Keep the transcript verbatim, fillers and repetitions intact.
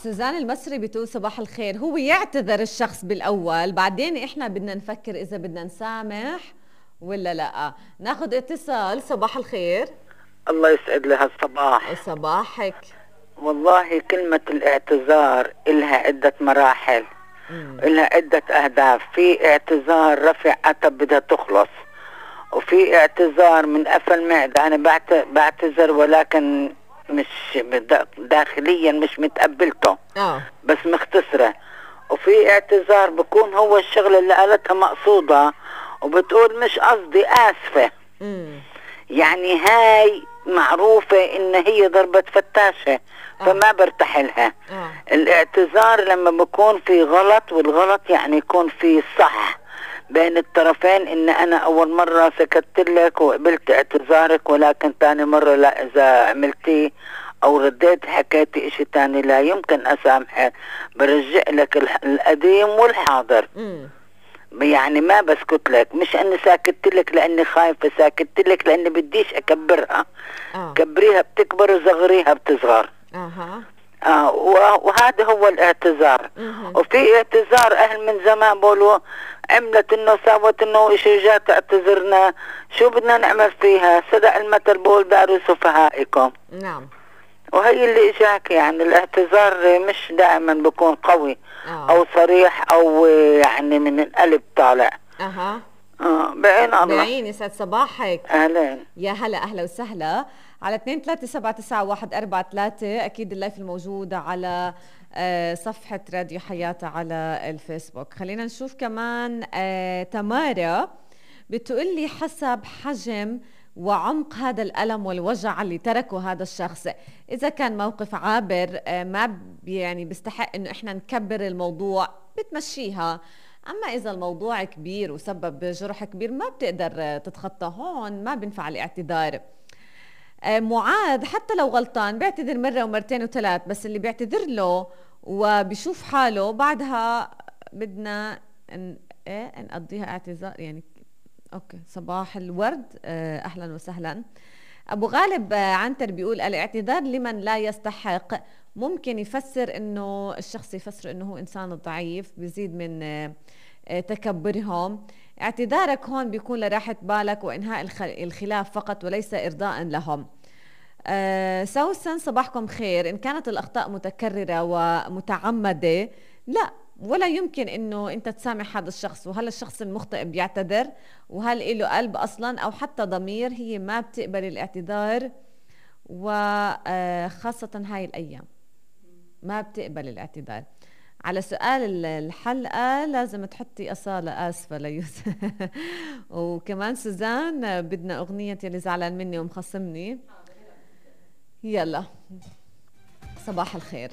سوزان المصري بتقول صباح الخير. هو يعتذر الشخص بالأول، بعدين إحنا بدنا نفكر إذا بدنا نسامح ولا لا. ناخد اتصال. صباح الخير. الله يسعد لها الصباح. صباحك. والله كلمة الاعتذار إلها عدة مراحل، مم. إلها عدة أهداف. في اعتذار رفع عتب بدها تخلص، وفي اعتذار من قفل معدة، أنا بعتذر ولكن مش داخليا مش متقبلته، آه. بس مختصرة. وفي اعتذار بكون هو الشغلة اللي قالتها مقصودة وبتقول مش قصدي، آسفة. مم. يعني هاي معروفة إن هي ضربة فتاشة، فما برتاح لها. آه. الاعتذار لما بكون في غلط، والغلط يعني يكون في صح بين الطرفين، إن أنا أول مرة سكت لك وقبلت اعتذارك، ولكن تاني مرة لا، إذا عملتي أو رديت حكيتي إشي تاني لا يمكن أسامحك، برجع لك القديم والحاضر. م. يعني ما بسكت لك، مش أني ساكت لك لأني خايفة، ساكت لك لأني بديش أكبرها. آه. كبريها بتكبر وصغريها بتصغر. أها. آه وهذا هو الاعتذار. مه. وفي اعتذار أهل من زمان بقولوا عملت إنه ساوت إنه إشي جات اعتذرنا، شو بدنا نعمل فيها؟ صدق المثل بقول داروا سفهائكم. نعم. وهي اللي إجاك، يعني الاعتذار مش دائما بيكون قوي. آه. أو صريح أو يعني من القلب طالع. أها. اه بعين الله. بعين. يسعد صباحك. اهلا. يا هلا، اهلا وسهلا. على اثنين ثلاثة سبعة تسعة واحد أربعة ثلاثة. اكيد اللايف الموجود على صفحة راديو حياة على الفيسبوك. خلينا نشوف كمان. تمارا بتقول لي حسب حجم وعمق هذا الألم والوجع اللي تركه هذا الشخص. إذا كان موقف عابر ما يعني بيستحق إنه إحنا نكبر الموضوع، بتمشيها. أما إذا الموضوع كبير وسبب جرح كبير ما بتقدر تتخطى، هون ما بينفع الاعتذار. معاذ حتى لو غلطان بيعتذر مرة ومرتين وثلاث، بس اللي بيعتذر له وبيشوف حاله بعدها بدنا ن... إيه نقضيها اعتذار يعني. أوكي. صباح الورد. أهلا وسهلا. أبو غالب عنتر بيقول الاعتذار لمن لا يستحق ممكن يفسر إنه الشخص يفسر إنه هو إنسان ضعيف، بيزيد من تكبرهم. اعتذارك هون بيكون لراحة بالك وإنهاء الخلاف فقط وليس إرضاء لهم. أه سوسن صباحكم خير. إن كانت الأخطاء متكررة ومتعمدة لا، ولا يمكن إنه أنت تسامح هذا الشخص. وهل الشخص المخطئ بيعتذر؟ وهل له قلب أصلا أو حتى ضمير؟ هي ما بتقبل الاعتذار، وخاصة هاي الأيام ما بتقبل الاعتذار. على سؤال الحلقة لازم تحطي أصالة آسفة ليوسف. وكمان سوزان بدنا أغنية يلي زعلان مني ومخصمني. يلا صباح الخير.